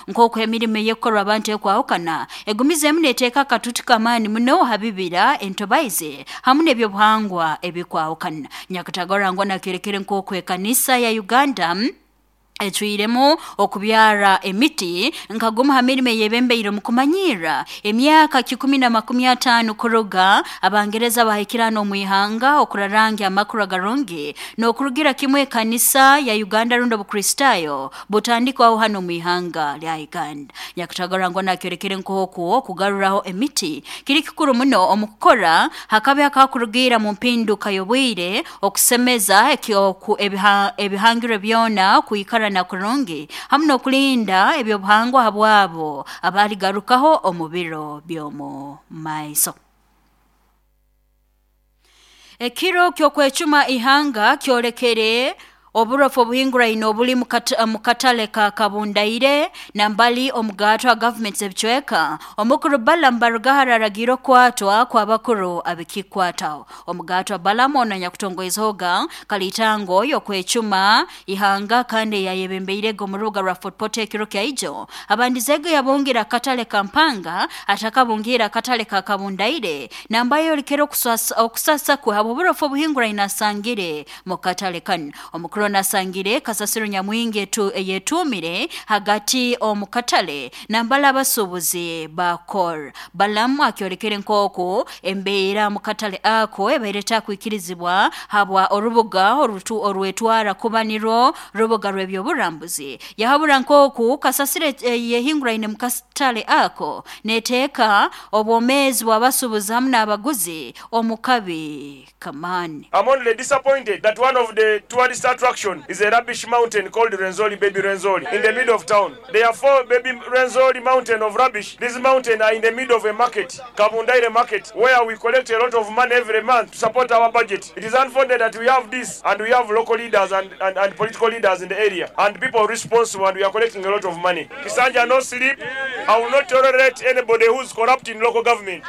Nk'oku emirimo ey'ekukorwa abantu ekwahukana egumizeemu neeteeka akatutu k'amaani muno ha bibira, entobaizi hamu n'ebyobuhangwa ebikwahukana. Nyakatagara Rangwa nakyorekere nk'oku ekanisa ya Uganda ecwiremu okubyara emiti nka gumu ha mirimo eyebembeire omu kumanyirra emyaka 150 kuruga Abangereza bahikire hanu omu ihanga okurarangya amakuru agarungi n'okurugira kimu ekanisa ya Uganda rundi Obukristaayo butandikwaho hanu omu ihanga lya Uganda. Nyakatagara Rangwa nakyolekere nk'oku okugaruraho emiti kiri kikuru muno omu kukora hakabi akakurugiira mu mpinduka y'obwire, okusemeza ebihangirwe byona kwikarana kurungi hamu n'okulinda eby'obuhangwa habwabo abaligarukaho omu biro by'omu maiso. Ekiro ky'okwecuma ihanga kyolekere oburofu obuhinguraine obuli mu katale ka Kabundaire nambali omugaatwa gavumenti z'ebicweka. Omukuru Balaam Barugahara aragiire okukwatwa kw'abakuru abikikwataho. Omugaatwa Balaam onu anyakutongoizehoga kaliitango y'okwecuma ihanga kandi eyayebembeirege omu rubuga rwa Fort Portal ekiro kya ijo, abandizeege yabungira akatale ka Mpanga atakabungiire akatale ka Kabundaire namba ayolekere okusasa kwe habw'oburofu obuhinguraine asangire mu katale kanu. Omukuru onu asangire kasasiro nyamwingi eyetuumire hagati omu katale nambali abasuubuzi ba Kor. Balaam akyolekere nk'oku embeera mu katale ako ebaire etakwikirizibwa habwa orubuga orwetwara kuba nirwo rubuga rw'ebyoburambuzi. Yahabura nk'oku kasasiro eyehinguraine mu katale ako neteeka obwomeezi bw'abasuubuzi hamu n'abaguzi omu kabi k'amaani. I'm only disappointed that one of the tourist attraction is a rubbish mountain called Rwenzori Baby Rwenzori in the middle of town. There are four Baby Rwenzori mountain of rubbish. These mountain are in the middle of a market, Kabundaire market, where we collect a lot of money every month to support our budget. It is unfortunate that we have this and we have local leaders and, and, and political leaders in the area and people responsible and we are collecting a lot of money. Kisanja no sleep. I will not tolerate anybody who's corrupt in local government.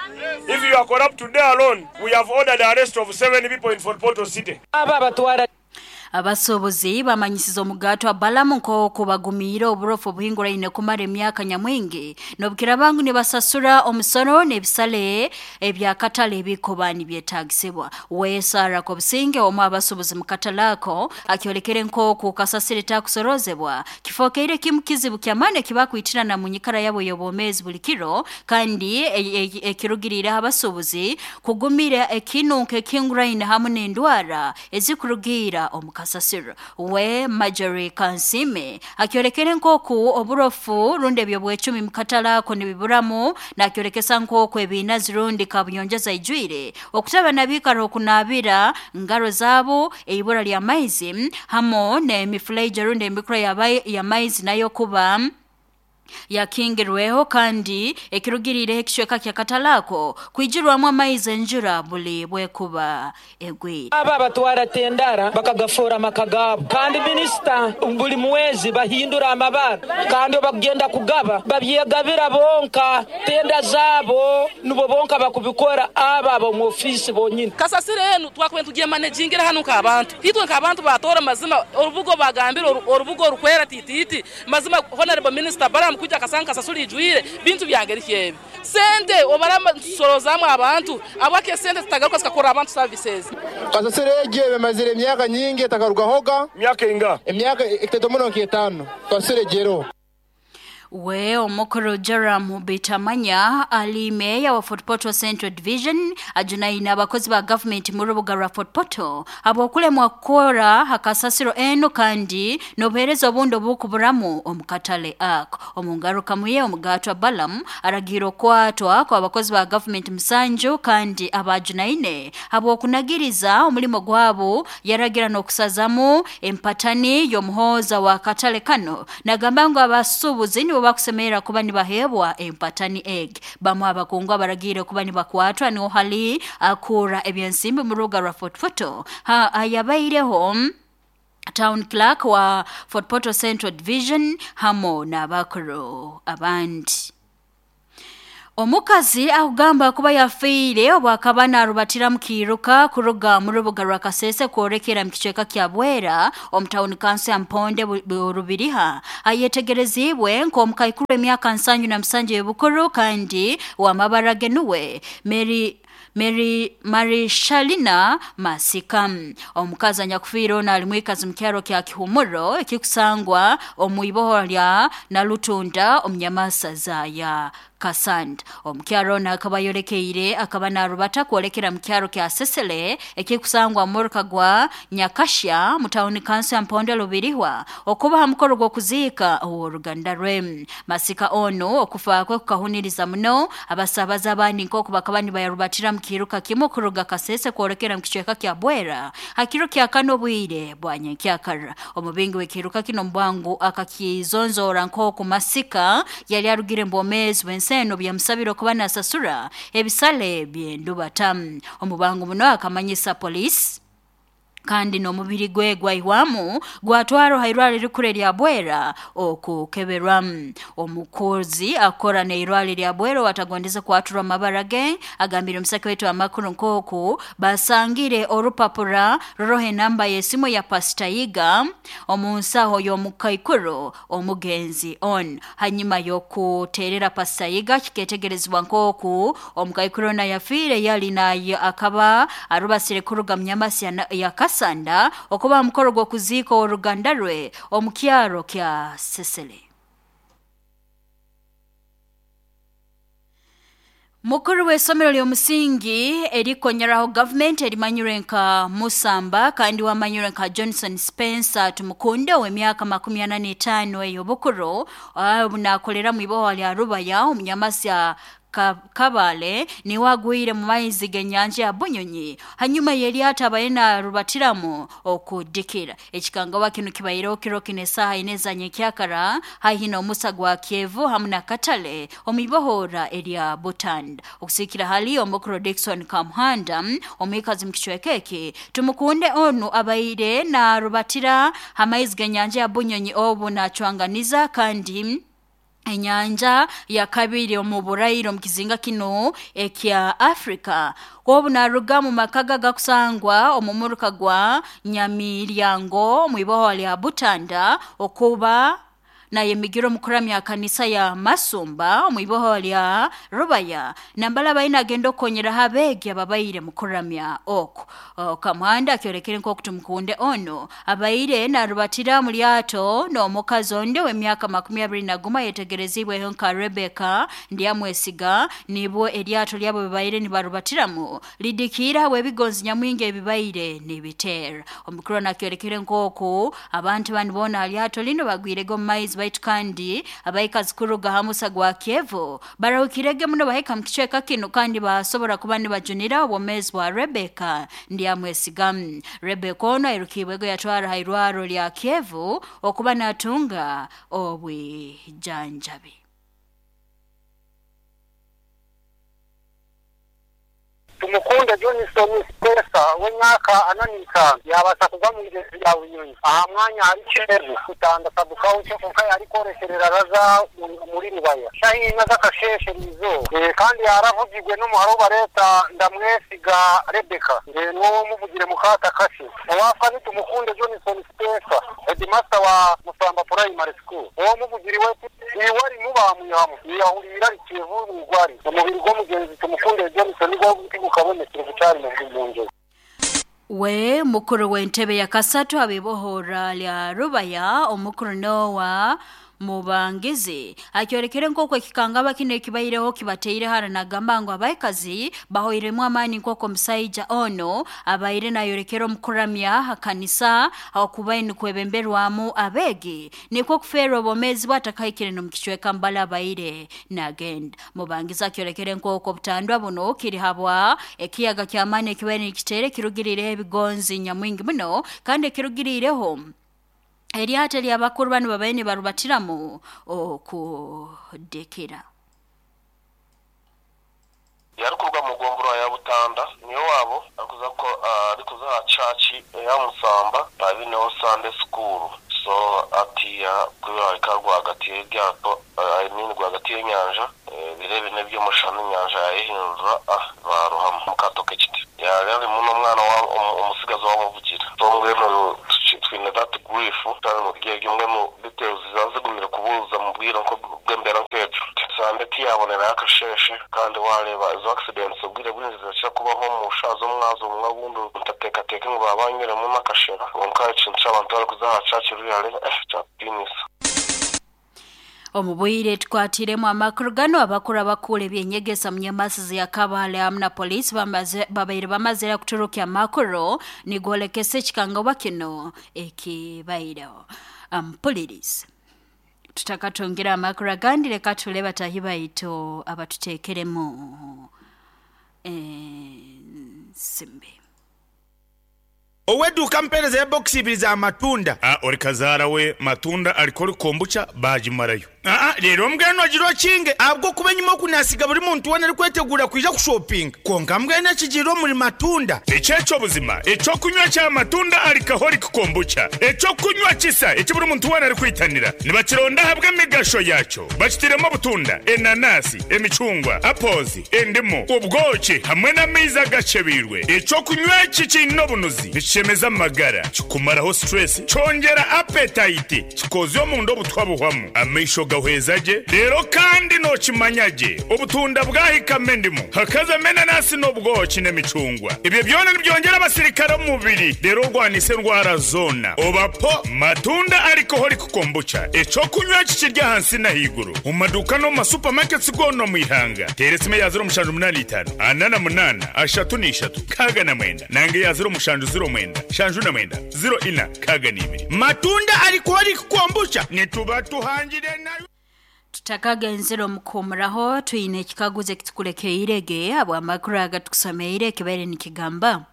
If you are corrupt today alone, we have ordered the arrest of seven people in Fort Portal City. Abo abatwara. Abasuubuzi bamanyisize omugaatwa Balamu nk'oku bagumiire oburofu obuhinguraine kumara emyaka nyamwingi n'obukiraaba ngu nibasasura omusoro n'ebisale eby'akatale ebikuba nibyetaagisibwa. We Sarah Kobusinge omu abasuubuzi mu katale ako akyolekere nk'oku kasasiro etakusorozebwa kifookeire kimu kizibu ky'amaani ekibakwitirana mu nyikara yabo ey'obwomeezi buli kiro kandi ekirugiriireho abasuubuzi kugumira ekinunko ekihinguraine hamu n'endwara ezikurugiira omu kasasiro. We Marjorie Kansiime akyolekere nk'oku oburofu rundi eby'obwecumi mu katale ako nibiburamu nakyolekesa nk'oku ebiinazi rundi kabuyonjo zaijwire okutaba nabiikara okunaabira ngaro zaabo, eibura ly'amaizi hamu n'emifuleija rundi emikura y'amaizi nayo kuba yakingirweho kandi ekirugiriireho ekicweka ky'akatale ako kwijurwamu amaizi enjura buli bwekuba egwire. Abo abatwara tendara bakagafoora amaka gaabo kandi minisita buli mwezi bahindura amabara kandi obu bakugenda kugaba babyegabira bonka tenda zaabo nibo bonka bakubikora abo ab'omu ofiisi bonyini. Kasasiro enu twakubaire nitugyemanagingira hanu nk'abantu. Itwe nk'abantu ba Tooro mazima orubuga obagambire orubuga orukwera titiiti mazima Honourable Minister Balaam kwija akasanga kasasiro eijwire bintu bya ngeri ki ebi? Sente obaraba nitusoroozamu abantu ahabwaki esente zitagaruka zikakorera abantu services? Kasasiro egi emazire emyaka nyingi etakarugahoga. Myaka einga? Emyaka etaito muno nk'etaano kasasiro egi eroho. We omukuru Joram Bitamanya ali meeya wa Fort Portal Central Division ajunaine abakozi ba gavumenti mu rubuga rwa Fort Portal habw'okulemwa kukora ha kasasiro enu kandi n'obuheereza obundi obukuburamu omu katale ako. Omu ngarukamu ye, omugaatwa Balaam aragiire okukwatwa kw'abakozi ba gavumenti musanju kandi abaajunaine habw'okunagiriza omulimo gwabo yaragira n'okusazamu empatani y'omuhooza w'akatale kanu nagamba ngu abasuubuzi nibo bakusemerra kuba nibaheebwa empatani egi. Bamu abakungu abaragiire kuba nibakwatwa niho hali akuura eby'ensimbi mu rubuga rwa Fort Portal ayabaireho Town Clerk wa Fort Portal Central Division hamu n'abakuru abandi. Omukazi akugamba kuba yafiire obu akaba narubatira mu kiiruka kuruga mu rubuga rwa Kasese kworekera mu kicweka kya Bwera omu tawuni kanso ya Mponde Rubiriha ayetegereziibwe nk'omukaikuru emyaka 77 y'obukuru kandi w'amabara ge nuwe Mary Mary Marishalina Masika. Omukazi anyakufiire ono ali mwikazi mu kyaro kya Kihumuro ekikusangwa omu iboho lya Nalutunda omu Nyamasaza ya Kasanda. Omukyaro ono akaba ayolekeire akaba narubata kwolekera mu kyaro kya Sesele ekikusangwa mu muruka gwa Nyakashya mu tawuni kanso ya Mponde Lubirihwa okuba ha mukoro gw'okuziika ow'oruganda rwe. Masika ono okufa kwe kukahuniriza muno abasabaza abandi nk'oku bakaba nibayarubatira mu kiiruka kimu kuruga Kasese kwolekera mu kicweka kya Bwera ha kiro kya kano obwire bwa nyenkyakara. Omubingi w'ekiiruka kino mu bwangu akakizonzoora nk'oku Masika yali arugire mu bwomeezi bw'ensi eno byamusabire okuba nasasura ebisale by'endubata. Omu bwangu muno akamanyisa poliisi kandi n'omubiri gwe gwaihwamu gwatwarwa ha irwaro erikuru erya Bwera okukeberwa. Omukozi akora n'irwaro erya Bwera owatagondeze kwaturwa amabara ge agambire omusake waitu amakuru nk'oku basangire orupapura ruriho enamba y'esimu ya Pastor Yiga omu nsaho y'omukaikuru omugenzi on. Hanyuma y'okuteerera Pastor Yiga kiketegerezibwa nk'oku omukaikuru ono yafiire yali naye akaba arubasire kuruga mu Nyamasi ya Kasanda okuba ha mukoro gw'okuziika ow'oruganda rwe omu kyaro kya Sesele. Mukuru w'isomero ly'omusingi erikonyeraho gavumenti erimanyirwe nka Musamba kandi wamanyirwe nka Johnson Spencer Tumukunde ow'emyaka 45 ey'obukuru obu nakolera mu iboho lya Rubaya omu Nyamasi ya Kabale niwe agwire mu maizi g'enyanja ya Bunyonyi hanyuma y'eryato abaire narubatiramu okudikira. Ekikangawa kinu kibaireho kiro kinu esaaha ina eza nyenkyakara haihi n'omusa gwa Kyevu hamu na Katale omu ibohora erya Butanda. Okusiikira hali omukuru Dickson Kamuhanda omwikazi mu kicweka eki Tumukunde onu abaire narubatira ha maizi g'enyanja ya Bunyonyi obu nacwanganiza kandi enyanja ya kabiri omu buraire omu kizinga kinu ekya Afrika. Obu naruga mu maka ge agakusangwa omu muruka gwa Nyamiryango omu iboho lya Butanda okuba nayemigira omu kuramya kanisa ya Masumba omu iboho lya Rubaya nambala abaire nagenda okukonyeraho abeegi ababaire mu kuramya oku. Kamuhanda akyolekere nk'oku Tumukunde ono abaire narubatira mu lyato n'omukazi ondi ow'emyaka 21 ayetegerezibweho nka Rebecca Ndyamwesiga nibwo eryato lyabo bibaire nibarubatiramu lidikiire habw'ebigonzi nyamwingi ebibaire nibiteera. Omukuru ono akyolekere nk'oku abantu banu boona ha lyato linu bagwirege omu maizi baitu kandi abaikazi kuruga ha musa gwa Kyevu barahukirege muno bahika mu kicweka kinu kandi basobora kuba nibajunira obwomeezi bwa Rebecca Ndyamwesiga. Rebecca ono airukiibwego yatwara ha irwaro lya Kyevu okuba natunga obwijanjabi. Tumukunde Johnson Spencer ow'emyaka 45 yaabaasa kugwa omu igyezi rya Bunyonyi aha mwanya ahari Kyevu, Butanda Sub-county kwonka yaarikworekyerera raza omuri Rubaya shaaha ina z'akasheeshe eriizooba kandi yaaravugirwe n'omuhara ou bareeta Ndamwesiga Rebecca n'ou omuvugire mukaata kakye. Owaafa ni Tumukunde Johnson Spencer, Headmaster wa Musamba Primary School. Ow'omuvugiri we iwe arimu baamwihamu yahuriire ari Kyevu omu igwariro. Omubiri gw'omugyenzi Tumukunde Johnson gwo tigukabonekire gukyari mu ngyezi. We mukuru w'entebe ya kasatu ab'ibohora lya Rubaya omukuru Noah Mubangizi akyolekere nk'oku ekikangaba kinu ekibaireho kibateire hara nagamba ngu abaikazi bahoiremu amaani nk'oku omusaija ono abaire nayolekera omu kuramya ha kanisa okubaire nikwebemberwamu abeegi nikwo kufeerwa obwomeezi bwe atakahikire n'omu kicweka mbali abaire nagenda. Mubangizi akyolekere nk'oku obutandwa buno kiri habwa ekiyaga ky'amaani ekibaire nikiteera ekirugiriireho ebigonzi nyamwingi muno kandi ekirugiriireho eryato ery'abakuru banu babaire nibarubatiramu okudikira. Yarikuruga omu gomborora ya Butanda niyo waabo arikuza aha church eya Musamba abineho Sunday school so atiya ku yahika rwagati y'eryato I mean rwagati. ahagati y'enyanja, ebiro ebina eby'omushana enyanja yaayehindura baarohama omu kaato k'ekiti. Yaari arimu n'omwana omutsigazi owaamuvugiire. So mbwenu twine that grief kandi omuri eryo mbwenu details zizaba zigumire kubuuza mu bwire bw'embeera nk'egyo. Sande tiyaabonerayo akasheeshe kandi waareeba ezo accidents obwire bwingi nizikira kubaho omu shaaha z'omwazyo obumwe obundi ntateekateeke ngu baaba banywiremu n'akashera kwonka ekintu ky'abantu barikuza aha church really eh kyatutiinisa. Omu bwire tukwatiremu amakuru gano, abakuru abakura ebyenyegesa mu nyamasizi ya Kabale hamu na poliisi babaire bamazire kuturukya amakuru nigolekesa ekikangabwa kino ekibaireho. Mpuliriza. Tutakatungire amakuru agandi, leka tule batahi baitu abatuteekeremu ensimbi. Ow'eduuka ampeereza ebokisi ibiri za matunda. A Ori kazaara we matunda ariko ori kombucha baagimarayo. Aa Reero mbwenu ogire okinge ahabw'okuba enyima oku naasiga buri muntu weena arikweteguura kwija kushopinga. Kwonka mbwenu ekigiire omuri matunda. Eki eky'obuzima, eky'okunywa kya matunda alcoholic kombucha, eky'okunywa kisa eki buri muntu weena arikwitanira. Nibakironda ahabw'emigasho yaakyo. Bakitairemu obutunda, enanasi, emicungwa, apples, endimu, obwoki hamwe n'amaizi agakyebeirwe. Eky'okunywa eki kiine obunuzi, nikishemeza amagara, kikumaraho stress, kyongyera appetite, kikoozya omunda obutwa buhwamu, amaisho gahweza gye, reero kandi nookimanya gye obutunda bwahikamu endimu, hakazamu enanasi n'obwoki n'emicungwa. Ebyo byona nibyongyera abasirikare omu mubiri reero orwanise endwara zoona. Oba po matunda alcoholic Kombucha, eky'okunywa eki kiri ahansi n'ahaiguru omu maduuka n'omu ma supermarkets goona omu ihanga. Teera esimu eya 0785 48 33 69 nanga eya 0709 79 04 62. Matunda Alcoholic Kombucha nituba tuhangire nayo. Tutakagenzere omu kuhumuraho, twine ekikaguzo ekitukulekeire ge habw'amakuru agatukusomeire ekibaire nikigamba.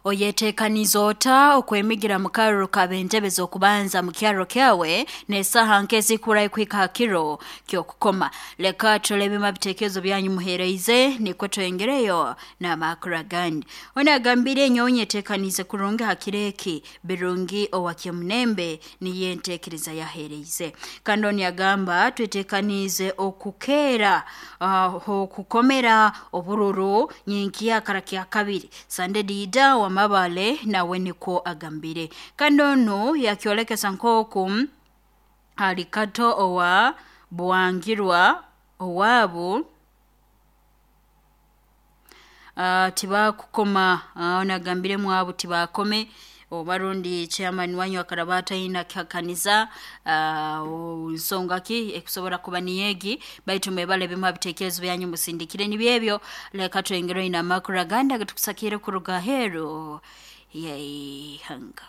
Oyetekaniize ota okwemigira mu karuru k'ab'entebe z'okubanza mu kyaro kyawe n'esaaha nke ezikurayo kuhika ha kiro ky'okukoma? Leka turole ebimu ha bitekerezo byanyu muheereize nukwo twongereyo n'amakuru agandi. Onu agambire, nyowe nyetekaniize kurungi ha kiro eki, Birungi owa Kyemunembe niyo entekereza yaheereize. Kandi onu yagamba, twetekaniize okukeera h'okukomera obururu nyenkya kara kyakabiri. Sande Diida wa Mabale nawe nikwo agambire. Kandi onu yakyolekesa nk'oku ali Kato owa Bwangirwa owaabu tibakukoma. Onu agambire mwabu tibakome oba rundi chairman wanyu akaraba ataine kihakaniza nsonga ki ekusobora kuba niyo egi, baitu mwebale ebimu ha bitekerezo byanyu musindikire nibyo ebyo. Leka twongereyo n'amakuru agandi agatukusakiire kuruga aheeru y'ihanga.